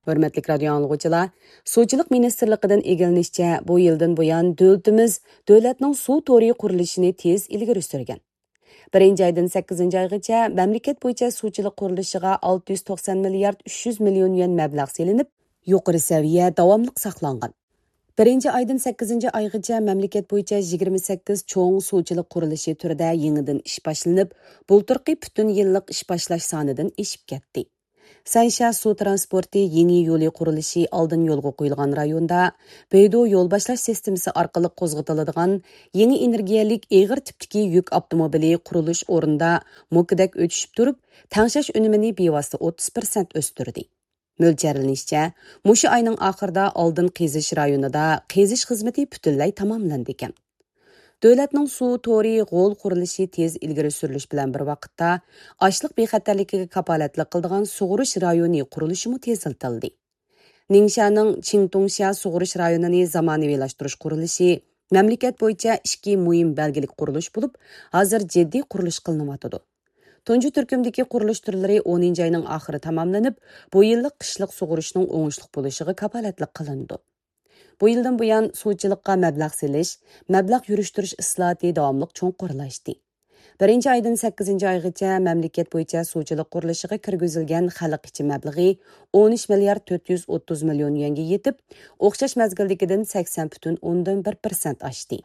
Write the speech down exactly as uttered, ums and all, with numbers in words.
ھۆرمەتلىك رادىيو ئاڭلىغۇچىلار، سۇچىلىق مىنىستىرلىقىدىن ئىگىلىنىشىچە، بۇ يىلدىن بۇيان دۆلىتىمىز دۆلەتنىڭ سۇ تورى قۇرۇلۇشىنى تېز ئىلگىرى سۈرگەن. بىرىنچى ئايدىن سەككىزىنچى ئايغىچە مەملىكەت بويىچە سۇچىلىق قۇرۇلۇشىغا ئالتە يۈز توقسان مىليارد ئۈچ يۈز مىليون يۈەن مەبلەغ سېلىنىپ، يۇقىرى سەۋىيە داۋاملىق ساقلانغان. بىرىنچى ئايدىن سەككىزىنچى ئايغىچە مەملىكەت بويىچە يىگىرمە سەككىز چوڭ سۇچىلىق قۇرۇلۇشى تۈرىدە يېڭىدىن ئىش باشلىنىپ، بۇلتۇرقى پۈتۈن يىللىق ئىش باشلاش سانىدىن ئېشىپ كەتتى. سەنشيا سۇ ترانسپورتى يېڭى يولى قۇرۇلۇشى ئالدىن يولغا قويۇلغان رايوندا، بېيدۇ يول باشلاش سىستېمىسى ئارقىلىق قوزغىتىلىدىغان يېڭى ئېنېرگىيەلىك ئېغىر تىپتىكى يۈك ئاپتوموبىلى قۇرۇلۇش ئورنىدا موكىدەك ئۆتۈشۈپ تۇرۇپ، تەڭشەش ئۈنۈمىنى بىۋاسىتە ئوتتۇز پىرسەنت ئۆستۈردى. مۆلچەرلىنىشىچە، مۇشۇ ئاينىڭ ئاخىرىدا ئالدىن قېزىش رايونىدا قېزىش خىزمىتى پۈتۈنلەي تاماملىنىدىكەن. دۆلەتنىڭ سۇ تورى غول قۇرۇلۇشى تېز ئىلگىرى سۈرۈلۈش بىلەن بىر ۋاقىتتا، ئاشلىق بىخەتەرلىكىگە كاپالەتلىك قىلىدىغان سۇغۇرۇش رايونى قۇرۇلۇشىمۇ تېزلىتىلدى. نىڭشانىڭ چىڭتۇڭشيا سۇغۇرۇش رايونىنى زامانىۋىلاشتۇرۇش قۇرۇلۇشى مەملىكەت بويىچە ئىككى مۇھىم بەلگىلىك قۇرۇلۇش بولۇپ، ھازىر جىددىي قۇرۇلۇش قىلىنىۋاتىدۇ. تۇنجى تۈركۈمدىكى قۇرۇلۇش تۈرلىرى ئونىنچى ئاينىڭ ئاخىرى تاماملىنىپ، بۇ يىللىق قىشلىق سۇغۇرۇشنىڭ ئوڭۇشلۇق بولۇشىغا كاپالەتلىك قىلىنىدۇ. بۇ يىلدىن بۇيان، سۇچىلىققا مەبلەغ سېلىش، مەبلەغ يۈرۈشتۈرۈش ئىسلاھاتى داۋاملىق چوڭقۇرلاشتى. بىرىنچى ئايدىن سەككىزىنچى ئايغىچە مەملىكەت بويىچە سۇچىلىق قۇرۇلۇشىغا كىرگۈزۈلگەن خەلق ئىچى مەبلىغى ئون ئۈچ مىليارد تۆت يۈز ئوتتۇز مىليون يۈەنگە يېتىپ، ئوخشاش مەزگىلدىكىدىن سەكسەن پۈتۈن ئوندىن بىر پىرسەنت ئاشتى.